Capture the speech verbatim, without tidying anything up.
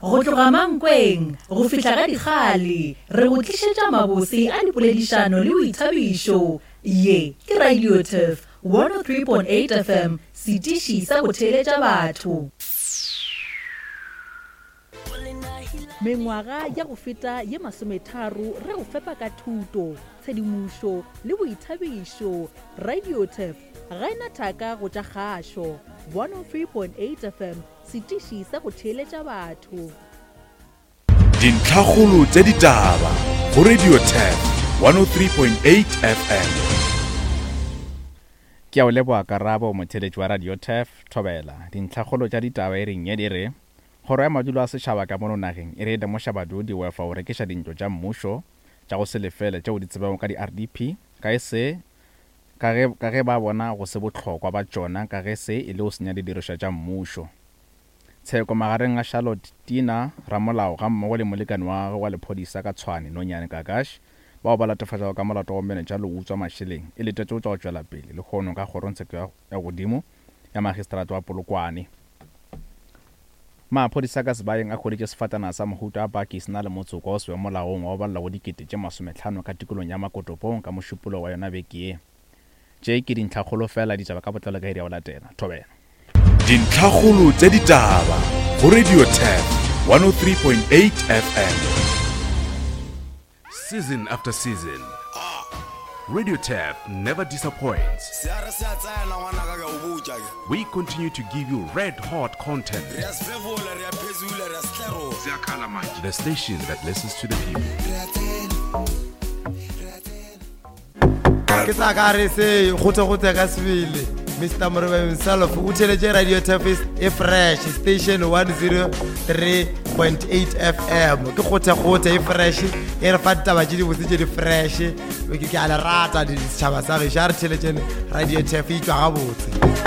Go tloga Mankweng go fihla ga Dikgale, re go tlišetša mabose a dipoledišano le boithabišo. Ye ke Radio Turf one oh three point eight F M, setiši sa go theeletša batho. Mengwaga ya go feta ye masometharo re go fepa ka thuto, tshedimošo le boithabišo. Radio Turf ga e na thaka go tša kgašo. one oh three point eight F M, setiši sa go theeletša batho. Dintlhakgolo tša ditaba go Radio Turf one oh three point eight F M. Ke a o leboga Karabo, motheeletši wa Radio Turf, Thobela. Dintlhakgolo tša ditaba e reng ye di re, Kgoro ya madulo a setšhaba ka mono nageng e re e lemoša badudi wefa go rekiša dintlo tša mmušo tša go se lefele tšeo di tsebago ka di-R D P ka e se ka ge, ka ge ba bona go se bohlokwa ba tšona ka ge se e le go senya didirišwa tša mmušo. Tsheko magareng a Charlotte Tina ramolao ga mmogo le molekane wa gagwe wa lephodisa ka Tshwane Nonyane Kakash bao ba latofatšago ka molato wa bomenetša le go utswa mašeleng e letetše go tšwa go tšwela pele lehono ka kgorongtsheko ya, ya godimo ya magistrata wa Polokwane. Maphodisa ka Sebayeng a hweditše sefatanaga sa mohuta wa baki se na le motsoko wa go se be molaong wa go balela go dikete tše masomehlano ka tikolong ya Makotopong ka mošupologo wa yona beke ye. Tše ke dintlhakgolo fela ditaba ka botlalo ka iri ya go latela. Thobela. Dintlhakgolo tša ditaba go Radio Turf one oh three point eight F M. Season after season, Radio Turf never disappoints. We continue to give you red hot content. The station that listens to the people. Ke sa ka re se gote-gote ka sebele. Mister Morobe himself o theeletše Radio Turf e fresh station one oh three point eight F M. Ke gote-gote e fresh e re fa ditaba tše dibotse tše di fresh. Ke, ke a le rata di setšhaba sa gešo. A re theeletšeng Radio Turf e tšwa gabotse.